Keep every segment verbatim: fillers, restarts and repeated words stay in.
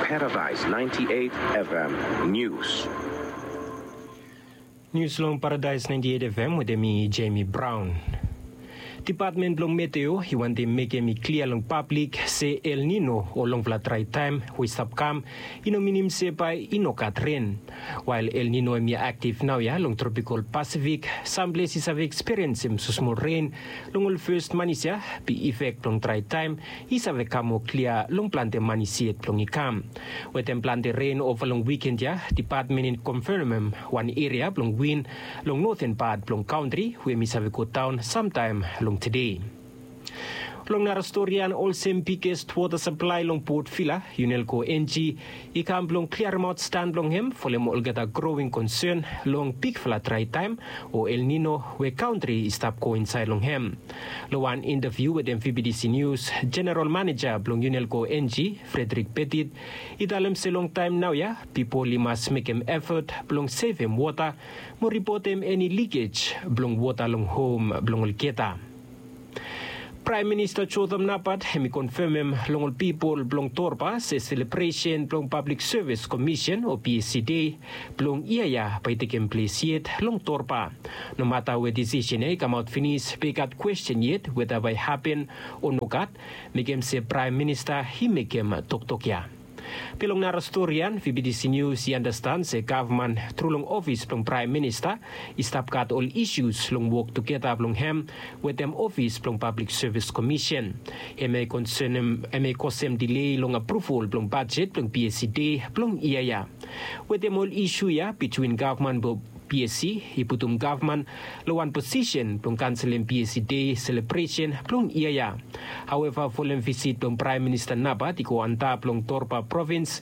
Paradise ninety-eight F M News. Nius long Paradise ninety-eight F M wetem mi, Jamie Brown. Depatmen blong meteo i wantem mekem i klia long pablik se El Nino o longfala drae taem we i stap kam i no minim se bae i no gat ren. Wael El Nino hemi aktif naoia long tropikol Pasifik, sam ples i save ekspiriensim smosmol ren long ol fes manis ia, be ifek blong drae taem i save kam moa klia long plante manis yet blong i kam. Wetem plante ren ova long wiken ia, depatmen i konfemem wan eria blong win long noten pat blong kantri we hemi save godaon samtaem long tede. Long nara stori ia, olsem bigest wota saplae long Port Vila, Unelco Engie i kam blong kliaremaot stan blong hem folem olgeta growing konsen long bigfala drae taem o El Nino we kantri i stap go insaed long hem. Long wan intaviu wetem V B T C Nius, Jeneral Maneja blong Unelco Engie, Frederick Petit, i talem se long taem naoia pipol i mas mekem efot blong sevem wota mo ripotem eni likej blong wota long hom blong olgeta. Praem Minista Jotham Napat hemi konfemem long ol pipol blong Torba se selebresen blong Pablik Sevis Komisen o P S C Dei blong yia ia bae i tekem ples yet long Torba. Nomata we disisen ia i kamaot finis, be i gat kwesten yet weta bae i hapen o nogat, mekem se Praem Minista i mekem toktok ia. Be long nara stori ia, V B T C Nius i andastan se gavman tru long ofis blong Praem Minista i stap gat ol isus long wok tugeta blong hem wetem ofis blong Pablik Sevis Komisen. Hemia i konsenem, hemia i kosem dilei long apruval blong bajet blong P S C Dei blong yia ia. Wetem ol isu ia bitwin gavman blong P S C i putum gavman long wan posisen blong kanselem P S C Dei selebresen blong yia ia. Haoeva, folem visit blong Praem Minista Napat i go antap long Torba provins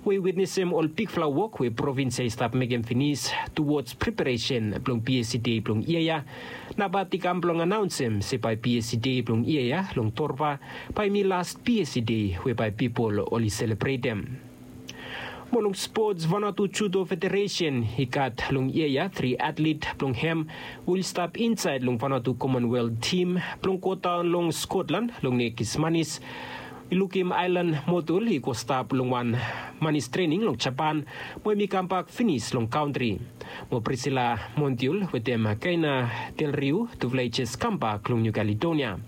we i witnesem ol bigfala wok we provins ia i stap mekem finis tuwods preparesen blong P S C Dei blong yia ia, Napat i kam blong anaonsem se bae P S C Dei blong yia ia long Torba bae hemi las P S C Dei we bae pipol oli selebretem. Mo long spots, Vanuatu Judo Federesen i gat long yia ia tri atlet blong hem we oli stap insaed long Vanuatu Commonwealth tim blong godaon long Scotland long nekis manis. I lukim aelan Motul i go stap long wan manis trening long Japan, mo hemi kambak finis long kantri. Mo Priscilla Montiel wetem Kaina Del Rio, tufala i jes kambak long New Caledonia.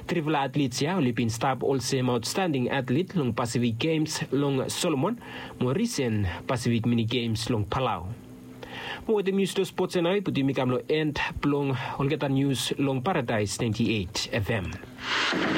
Trifala atlets ia oli bin stap olsem aotstanding atlet long Pasifik Gems long Solomon mo risen Pasifik Mini Gems long Palau. Mo wetem nius long spots ia nao i putum mi kam long en blong olgeta nius long Paradaes naenti eit F M.